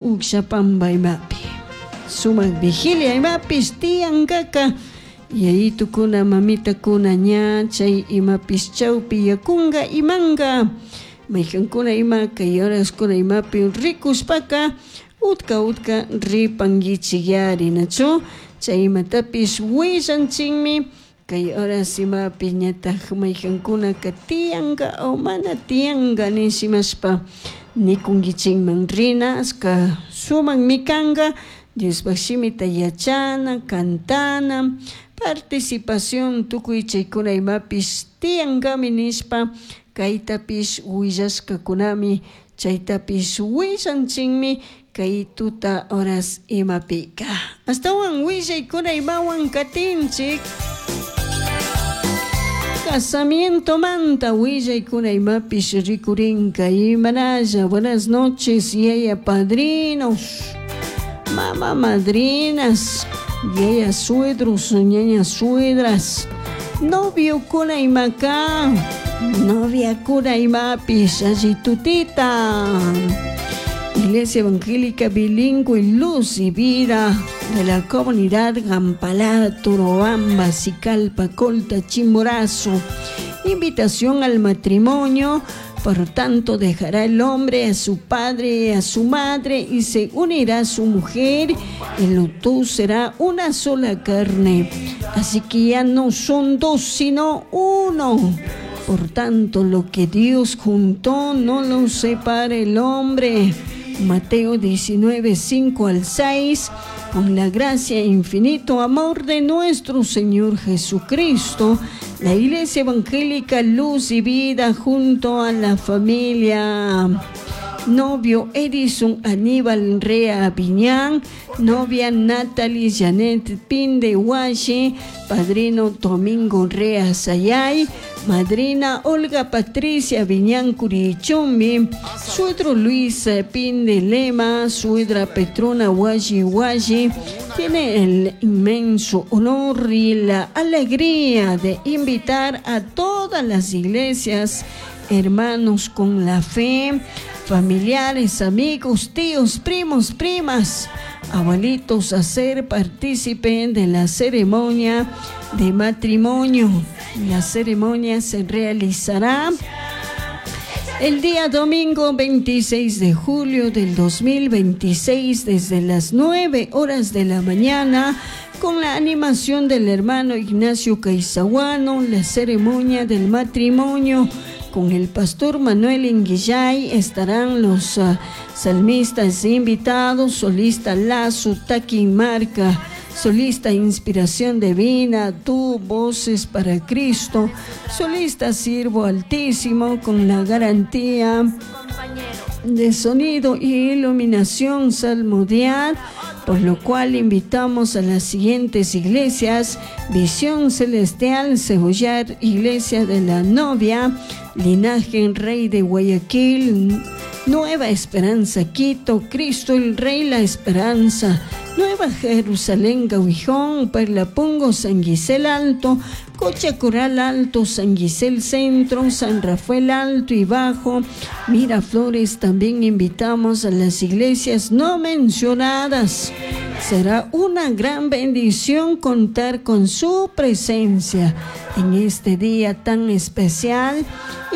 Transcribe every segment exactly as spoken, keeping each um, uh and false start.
Uxapamba imapi sumak vigilia imapish tiyankaka yayitukuna mamitakuna ña chay imapish chawpi yakunka imanka maykankuna ima kay horaskuna imapi rikushpaka utka utka ripankichikyari, nachu chay imatapish willanchikmi kay horas imapi ñatak maykankunaka tiyanka o mana tiyanka nishimashpa nikunkichikman rina ashka sumakmi kanka Diospak shimita yachana, cantana, participacion tukuy chaykuna imapish tiyankami nishpa kaytapish willashkakunami chaytapish willanchikmi kay tuta horas imapika ashtawan willaykuna imawan katinchik. Casamientomanta willaykuna imapish rikurinka imanalla. Buenas noches, yaya padrinos, mama madrinas, yaya suegros, ñaña suegras, noviokuna imaka, noviakuna imapish alli tutita. Iglesia Evangélica Bilingüe Luz y Vida de la comunidad Gampalá, Turobamba, Sicalpa, Colta, Chimborazo. Invitación al matrimonio. Por tanto, dejará el hombre a su padre y a su madre y se unirá a su mujer, y los dos será una sola carne. Así que ya no son dos, sino uno. Por tanto, lo que Dios juntó, no lo separe el hombre. Mateo diecinueve, cinco al seis. Con la gracia e infinito amor de nuestro Señor Jesucristo, la Iglesia Evangélica Luz y Vida junto a la familia. Novio Edison Aníbal Rea Viñán, novia Natalie Janet Pinde Huashi, padrino Domingo Rea Sayay, madrina Olga Patricia Viñán Curichumbi, suegro Luis Pinde Lema, suegra Petrona Huashi Huashi, tiene el inmenso honor y la alegría de invitar a todas las iglesias, hermanos con la fe, familiares, amigos, tíos, primos, primas, abuelitos, a ser partícipe de la ceremonia de matrimonio. La ceremonia se realizará el día domingo veintiséis de julio del dos mil veintiséis desde las nueve horas de la mañana con la animación del hermano Ignacio Caizahuano, la ceremonia del matrimonio. Con el pastor Manuel Inguillay estarán los uh, salmistas invitados, solista Lazo, Taqui Marca, solista Inspiración Divina, Tu Voces para Cristo, solista Siervo Altísimo, con la garantía de sonido y iluminación salmodial, por lo cual invitamos a las siguientes iglesias: Visión Celestial, Cebollar, Iglesia de la Novia, Linaje Rey de Guayaquil, Nueva Esperanza Quito, Cristo el Rey La Esperanza, Nueva Jerusalén Gauijón, Perlapungo, San Gisel Alto, Cochacoral Alto, San Gisel Centro, San Rafael Alto y Bajo, Miraflores. También invitamos a las iglesias no mencionadas. Será una gran bendición contar con su presencia en este día tan especial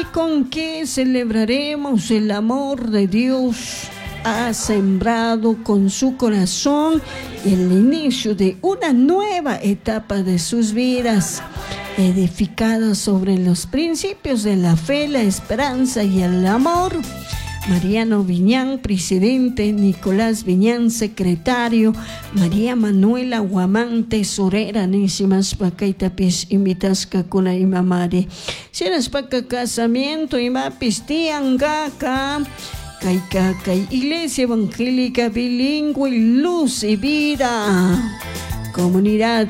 y con que celebraremos el amor de Dios ha sembrado con su corazón el inicio de una nueva etapa de sus vidas, edificada sobre los principios de la fe, la esperanza y el amor. Mariano Viñán, presidente; Nicolás Viñán, secretario; María Manuela Guamán, tesorera. Nisimas pakaitapis invitaskakuna imamari. Shinaspaka casamiento imapis tiyankaka. Kay kay Iglesia Evangélica Bilingüe Luz y Vida. Comunidad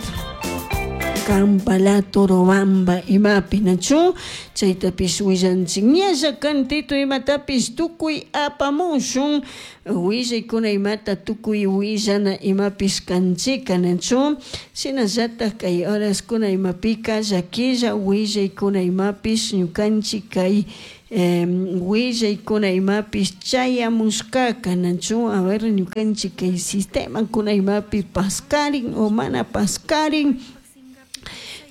Kampala Turubamba imapi nachu chaytapish willanchik ñalla cantito imatapish tukuy apamushun willaykuna imata tukuy willana imapish kanchika nachu shinallatak kay horaskuna imapika llaquilla willaykuna imapish ñukanchik kay willaykuna imapish chayamushkaka nachu a ver ñukanchik kay sistemakuna imapi paskarin o mana paskarin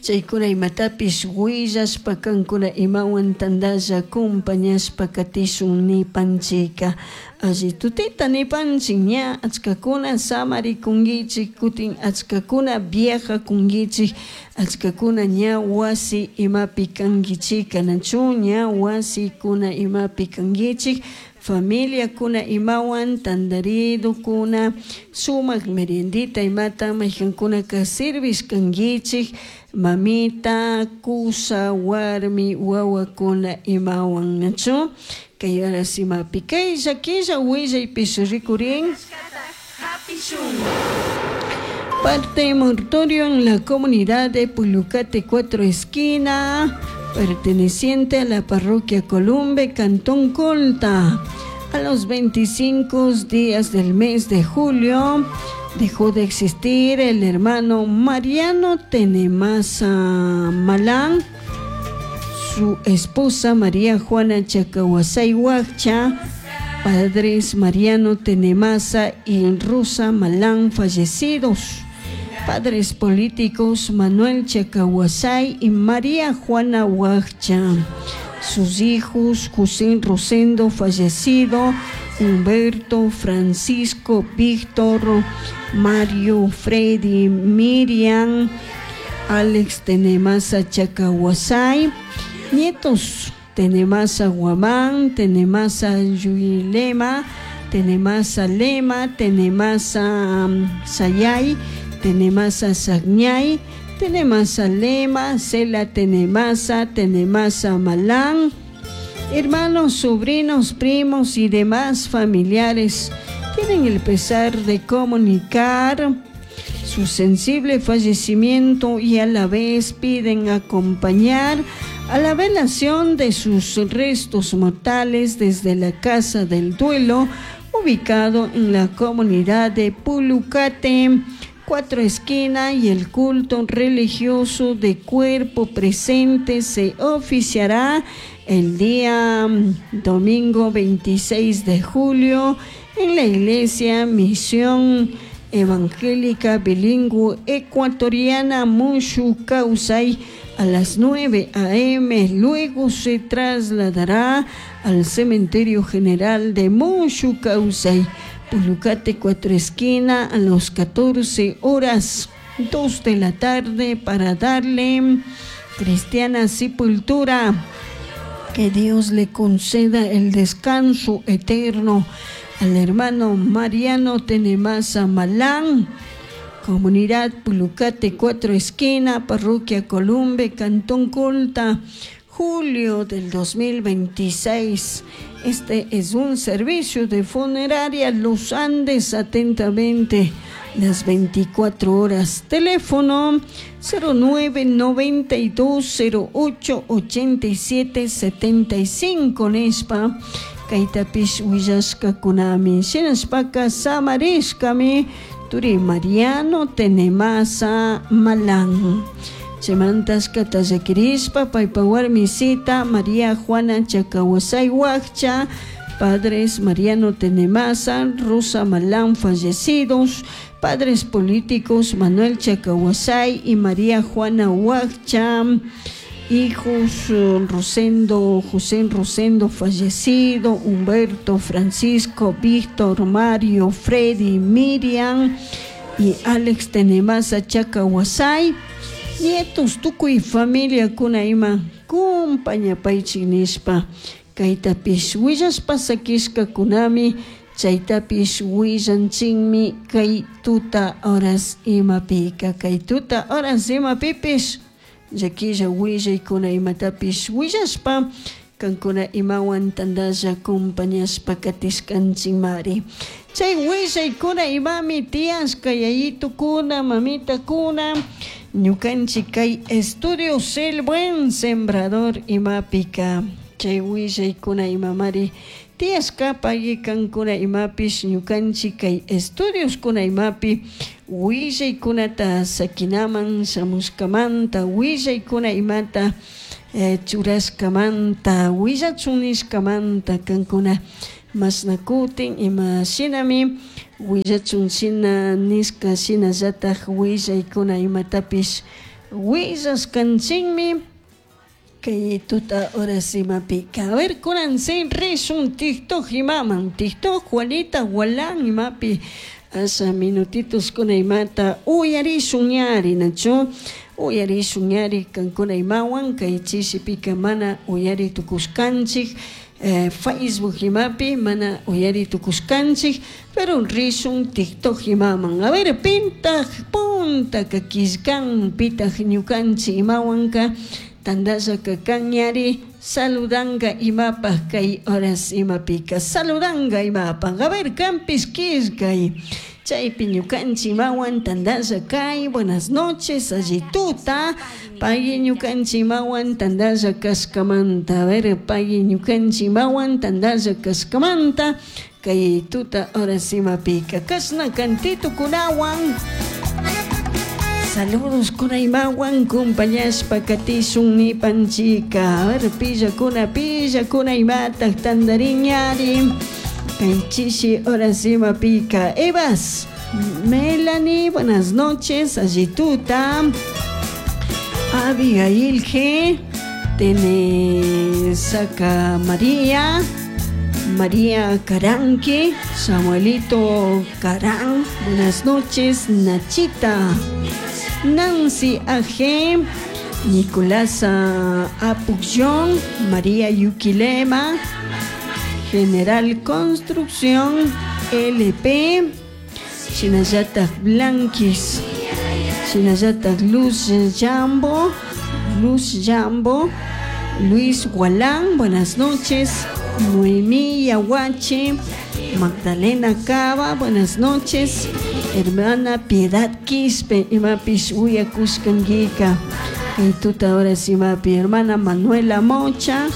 chaykuna imatapish willashpa kankuna imawan tantalla compañashpa katishun nipanchika alli tutita nipanchik ña achkakuna samarikunkichik kutin achkakuna viajakunkichik achkakuna ña wasi imapi kankichika nachu ña wasikuna imapi kankichik familiakuna imawan tantaridukuna sumak meriendita imata maykankunaka servishkankichik mamita kusa warmi wawakuna imawan nachu kay horas imapi kay llaquilla willaypish rikurin. Parte mortuorio en la comunidad de Pulucate Cuatro Esquina, perteneciente a la parroquia Columbe, Cantón Colta. A los veinticinco días del mes de julio dejó de existir el hermano Mariano Tenemasa Malán, su esposa María Juana Chacahuasay Huaccha, padres Mariano Tenemasa y Rosa Malán fallecidos, padres políticos Manuel Chacahuasay y María Juana Huaccha, sus hijos José Rosendo fallecido, Humberto, Francisco, Víctor, Mario, Freddy, Miriam, Alex Tenemasa Chacahuasay, nietos Tenemasa Guamán, Tenemasa Yuilema, Tenemasa Lema, Tenemasa um, Sayay, Tenemasa Sagñay, Tenemasa Lema, Cela Tenemasa, Tenemasa Malán, hermanos, sobrinos, primos y demás familiares tienen el pesar de comunicar su sensible fallecimiento y a la vez piden acompañar a la velación de sus restos mortales desde la Casa del Duelo, ubicado en la comunidad de Pulucate, Cuatro Esquina, y el culto religioso de cuerpo presente se oficiará el día domingo veintiséis de julio en la Iglesia Misión Evangélica Bilingüe Ecuatoriana Mushu Causay a las nueve a eme. Luego se trasladará al Cementerio General de Mushu Causay, Pulucate Cuatro Esquina, a las catorce horas dos de la tarde para darle cristiana sepultura. Que Dios le conceda el descanso eterno al hermano Mariano Tenemasa Malán, Comunidad Pulucate Cuatro Esquina, Parroquia Columbe, Cantón Colta, julio del dos mil veintiséis. Este es un servicio de funeraria Los Andes, atentamente, las veinticuatro horas. Teléfono cero nueve noventa y dos cero ocho ochenta y siete setenta y cinco. Nespa kaytapish willashkakunami shinashpaka samarishkami turi Mariano Tenemasa Malán. Chaymantashka tallakirishpa paypa warmisita María Juana Chacahuasay Huaccha, padres Mariano Tenemasa, Rosa Malán fallecidos, padres políticos Manuel Chacahuasay y María Juana Huaccha, hijos Rosendo, José Rosendo fallecido, Humberto, Francisco, Víctor, Mario, Freddy, Miriam y Alex Tenemasa Chacahuasay, nietos tukuy familia kuna ima kumpañapaychik nishpa kaytapish willashpa sakishkakunami, chaytapish willanchinmi kay tuta horas imapika, kay tuta horas imapipish llaquilla willaykuna imatapish willashpa kankuna imawan tantalla compañashpa katishkanchikmari. Chay willaykuna imami tiyashka yayitukuna mamitakuna Ñukanchik kay estudios El Buen Sembrador imapika chay willaykuna imamari tiyashka pagui kankuna imapish ñukanchik kay estudioskuna imapi willaykunata sakinaman shamushkamanta willaykuna imata eh, churashkamanta willachun nishkamanta kankuna mashna kutin ima shinami willachun shina nishka shinallatak willaykuna imatapish willashkanchikmi kay tuta horas imapika. A ver kunan si rishun TikTok imaman. TikTok Juanita Gualán imapi asha minutitos kuna imata uyarishun ñari nachu uyarishun ñari kankuna imawan kay chishipika mana uyari tukushkanchik eh, Facebook imapi mana uyari tukushkanchik pero rishun TikTok imaman. A ver pintaj puntaka killkan pitaq ñukanchik imawanka tandallaka kan ñari saludanga imapaj kay horas imapika saludanga imapaj. A ver kanpish killkay chaypi ñukanchik imawan tandalla kay buenas noches alli tuta pagui ñukanchik imawan tandalla kashkamanta. A ver pagui ñukanchik imawan tandalla kashkamanta kay tuta horas imapika kashna kantitukunawan saludos kuna imawan compañashpa katishun nipanchika. A ver pillakuna pillakuna imatak tandariñari kay chishi horas imapika. Evas Melanie, buenas noches, alli tuta. Abigail G, Tenesaca María, María Caranque, Samuelito Carán, buenas noches, Nachita, Nancy A G, Nicolás Apucción, María Yuquilema, General Construcción, L P, Shinallatak Blanquis, Shinallatak Luz Jambo, Luz Jambo, Luis Gualán, buenas noches, Noemí Yaguache, Magdalena Cava, buenas noches, hermana Piedad Quispe, imapish uyakushkanguika, kay tuta horas imapi, hermana Manuela Mocha,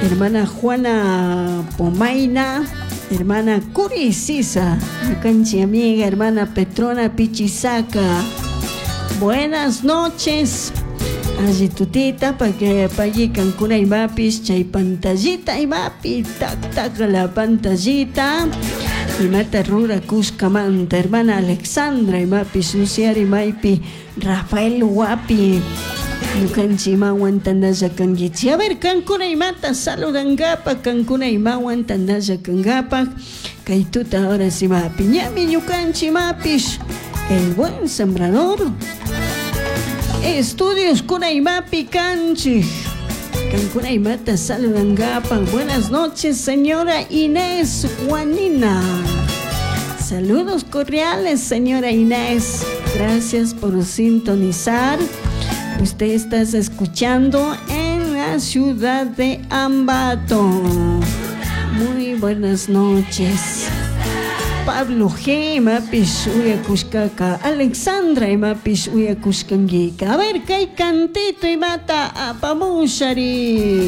hermana Juana Pomaina, hermana Curi Sisa, ñukanchik amiga, hermana Petrona Pichisaca. Buenas noches. Alli tutita pa que pagui kankuna imapish chay pantallita imapi tak tak la pantallita imata rurakushkamanta hermana Alexandra imapish Luciari maypi Rafael Wapi ñukanchik imawan tandalla kankichik. A ver kankuna imata saludankapak kankuna imawan tandalla kankapak kay tuta horas imapi ñami ñukanchik imapish El Buen Sembrador Estudios kuna imapi kanchik kankuna imata saludankapak. Buenas noches, señora Inés Juanina. Saludos cordiales, señora Inés, gracias por sintonizar. Usted está escuchando en la ciudad de Ambato. Muy buenas noches. Pablo G. imapish uyakushkaka Alexandra imapish uyakushkankika. A ver kay cantito imata apamushari.